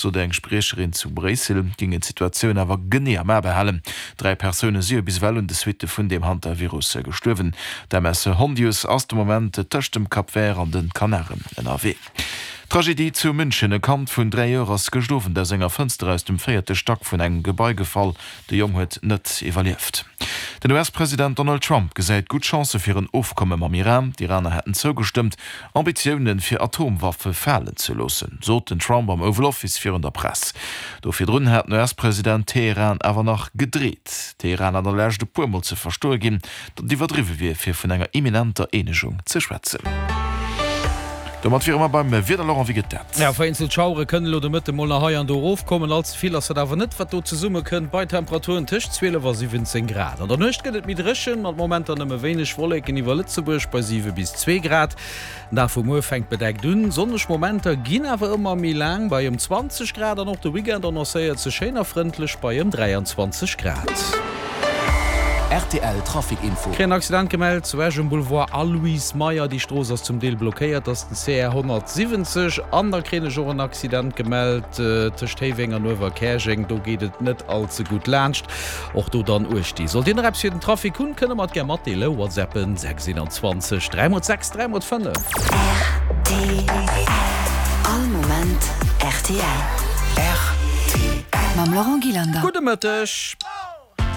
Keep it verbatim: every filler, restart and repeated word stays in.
Sot eng Spriecherin zu Bréissel, géingen d'Situatioun awer genee am A behalen. Dräi Persoune si jo bis ewell un de Suitte vun deem Hantavirus gestuerwen. D'M S Hondius ass de Moment tëscht dem Cap Vert an de Kanaren ënnerwee. Tragedie zu München, E Kand vun dräi Joer ass gëscht Owend aus enger Fënster aus dem véierte Stack vun engem Gebai gefall. De Jong huet net iwwerlieft. Den U S-President Donald Trump gesäit gutt Chancë fir en Ofkomme mam Iran. D'Iraner hätten zougestëmmt, Ambitioune fir Atomwaffe falen ze loossen, sot den Trump am Oval Office virun der Press. Do virdrun hat den U S-President Teheran awer nach gedreet. Teheran hat an der Lescht e puer Mol ze verstoe ginn, datt et iwwerdriwwe wier, fir vun enger imminenter Eenegung ze schwätzen. Domat wiere mer beim Wieder. Laurent, wéi gëtt dat? Ja, vereenzelt Schauere kënnen elo de Mëtte mol nach hei an do erofkommen. All ze vill ass dat awer net, wat do zesummekënnt, bei Temperaturen tëscht zwielef a siwwenzéng Grad. An der Nuecht gëtt et méi dréchen, mat Momenter nëmme wéineg Wolleken iwwer Lëtzebuerg bei siwe bis zwee Grad. Den Dag vu muer fänkt bedeckt un, sonneg Momenter ginn awer ëmmer méi laang bei ëm zwanzeg Grad an och de Weekend annoncéiert sech schéin a frëndlech bei ëm dräianzwanzeg Grad. R T L Trafic Info. Kréien en Accident gemellt zu Esch um Boulevard Aloyse Meyer. Déi Strooss ass zum Deel blockéiert, ass den C R honnertsiwwenzeg. An da kréien ech och en Accident gemellt tëscht Héiweng an Uewerkäerjeng. Do geet et net all ze gutt laanscht. Och do dann uecht gi. Sollt Dir nach eppes fir den Trafic hunn, kënne mer et gär matdeelen. WhatsAppen sechs einundzwanzeg dräi mol sechs dräi mol fënnef. R T L. All Moment R T L. R T L. Mam Laurent Gillander. Gudde Mëtteg.